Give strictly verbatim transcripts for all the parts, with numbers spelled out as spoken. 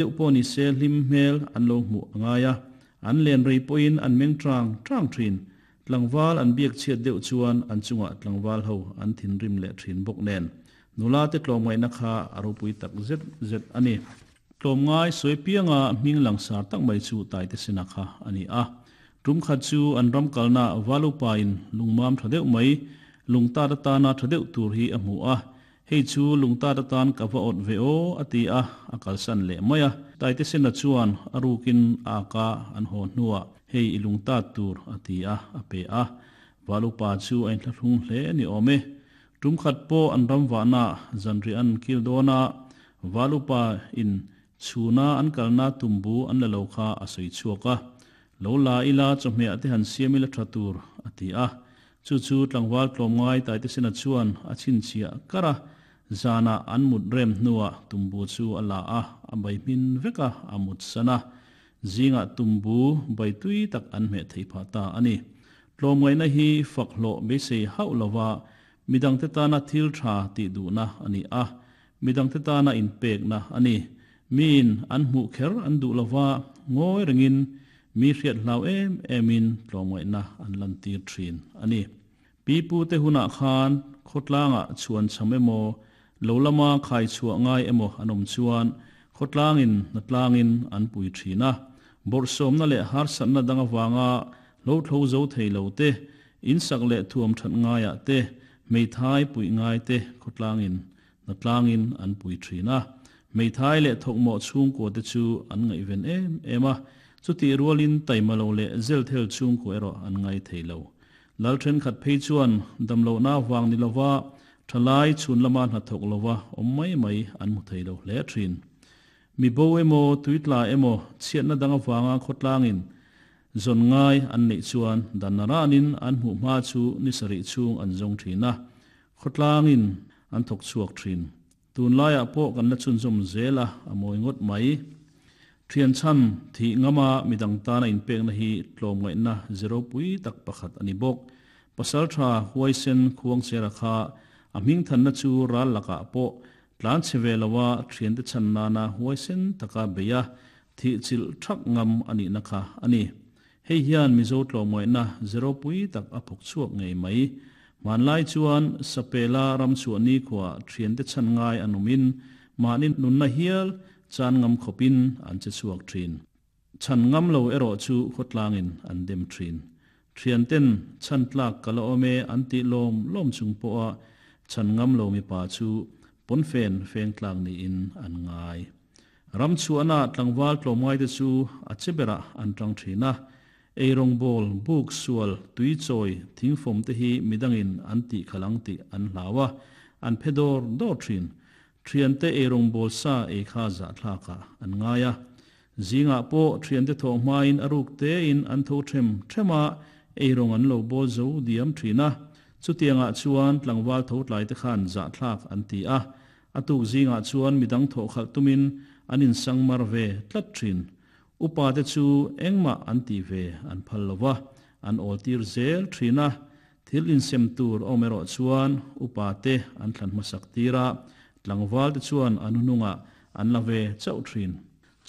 Deuh pawh ni se hlim hmel an lo hmuh a ngai a, an len rei pawhin an meng tang tang thin. Tlangval an biak chhiat deuh chuan an chungah tlangval ho an thinrim leh thin bawk nen. Nula te tlawmngaihna kha a ropui tak zet zet a ni. Tlawmngai sawi pianga hming langsar tak mai chu Taite Sena kha a ni a. Tum khat chu an ram kalna Valupa in lungmam tha deuh mai, lungtat atana tha deuh tur hi a hmu a. Hei chu lungtat atan ka va awt ve aw a ti a, a kalsan leh mai a. Taite Sena chuan a rukin a ka an haw hnuah hei i lungtat tur a ti a, a pe a. Valupa chu a inthlahrung hle ni awm e. Tum khat pawh an ram vahna zanri an kil dawn a, Valupa in chhuna an kalna tumbu an la lo kha a sawi chhuak a. Lo la ila chawhmeh te han siam ila tha tur a ti a. Chu chu tlangval tlawmngai Taite Sena chuan a chhinchhiah kar a. Zana an mut rem hnuah tumbu chu a la a, a bai hmin vek a, a mut san a. Zinga tumbu bai tui tak an hmeh thei phah ta a ni. Tlawmngaihna hi fak hlawh beisei hauh lova midang te tana thil tha tih duhna a ni a, midang te tana inpekna a ni. Miin an hmuh kher an duh lova ngawi rengin mi hriat hlau em emin tlawmngaihna an lan tir thin a ni. Pi pu te hunah khan khawtlanga chhuan cham emaw lo lama khai chhuah ngai emaw an awm chuan khawtlangin hnatlangin an pui thin a. Bawrhsawmna leh harsatna dang avanga lo thlo zo thei lo te, insak leh thuam that ngaiah te, hmeithai pui ngai te khawtlangin hnatlangin an pui thin a. Hmeithai leh thawkmawh chhungkua te chu an ngaihven em em a, chuti rualin taima lo leh zel thel chhungkua erawh an ngai thei lo. Lal thenkhat phei chuan damlohna vang ni lova thalai chhun lama hnathawk lova awm mai mai an hmu thei lo hle thin. Mi bo emaw tuitla emaw chhiatna dang avanga khawtlangin zawn ngai an neih chuan dan ranin an hmuh hma chu ni sarih chhung an zawng thin a, khawtlangin an thawk chhuak thin. Tun laiah pawh kan la chhunzawm zel a, a mawi ngawt mai. Thian chan thi ngama midang tana inpekna hi tlawmngaihna zero pui tak pakhat a ni bawk. Pasal tha huaisen khuang chera kha a hming thanna chu ral lakah pawh tlan che ve lowa thian te chan nana huaisen taka beia thi chil thak ngam ani na kha ani. Hei hian Mizo tlawmngaihna zero pui tak a phawk chhuak ngei mai. Hmanlai chuan sapela ram chhuah ni khua thian te chan ngai an awmin mahni nunna hial chan ngam khawpin an che chhuak thin. Chan ngam lo erawh chu khawtlangin an dem thin. Thian ten chan tlak kala awm e an tih lawm lawm chung pawha chan ngam lo mipa chu pawnfen feng tlak niin an ngai. Ram chhuahna tlangval tlawmngai te chu a che berah an tang thin a. Eirong ball, buk sual, tui chawi, thingfawm te hi midangin an tih khalang tih an hlau a, an phe dawr dawr thin. Thian te eirong ball sa ei kha zah thlakah an ngai a. Zingah pawh thian te thawh hmain a ruk tein an tho them thema eirong an lo bawl zo diam thin a. Chutiangah chuan tlangval tho tlai te khan zah thlak an ti a. A tuk zingah chuan midang thawh khalh tumin an insang mar ve tlat thin. Upa te chu engmah an ti ve an phal lova, an awl tir zel thin a. Thil insem tur awm erawh chuan upa te an thlan hmasak tir a, tlangval te chuan an hunungah an la ve chauh thin.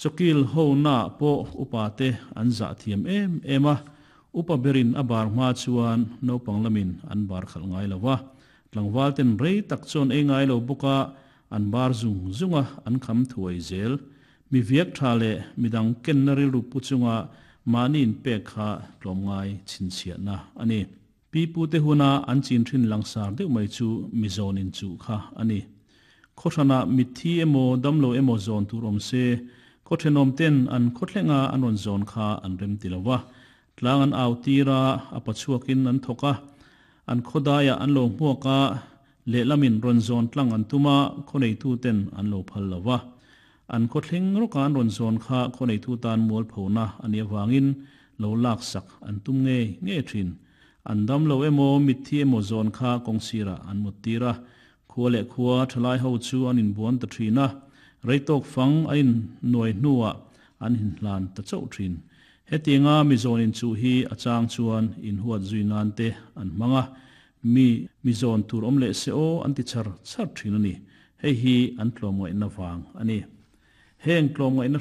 Chawkil ho na pawh upa te an zah thiam em em a. Upa berin a bar hma chuan naupang lamin an bar khalh ngai lova. Tlangval ten rei tak chuan ei ngai lo bawka an bar zung zunga an kham thuai zel. Mi viak tha leh midang kenna rilru pu chunga mahni inpek kha tlawmngai chhinchhiahna a ni. Pi pu te huna an chin thin langsar deuh mai chu mi zawn in chu kha a ni. Khawhrana mitthi emaw damlo emaw zawn tur awm se, khaw thenawm ten an khawthlenga an rawn zawn kha an rem ti lova. Tlang an au tira a pachhuakin an thawk a, an khawdaiah an lo hmuak a, lehlamin rawn zawn tlang an tuma khawneitu ten an lo phal lova. An khawthleng rawka an rawn zawn kha khawneitu tan mual phona ani awangin lo lak sak an tum nge nge thin. An dam lo emaw mitthi emaw zawn kha kawngsira an mut tir a. Khua leh khua thalai ho chu an inbuan ta thin a, reitok fang a in nuai hnuah an inhlan ta chauh thin. Hetianga mi zawn in chu hi a chang chuan in huat zui nan te an hmang a, mi mi zawn tur awm leh se aw an ti char char thin a ni. Hei hi an tlawmngaihna vang a ni. Heng tlawmngaihna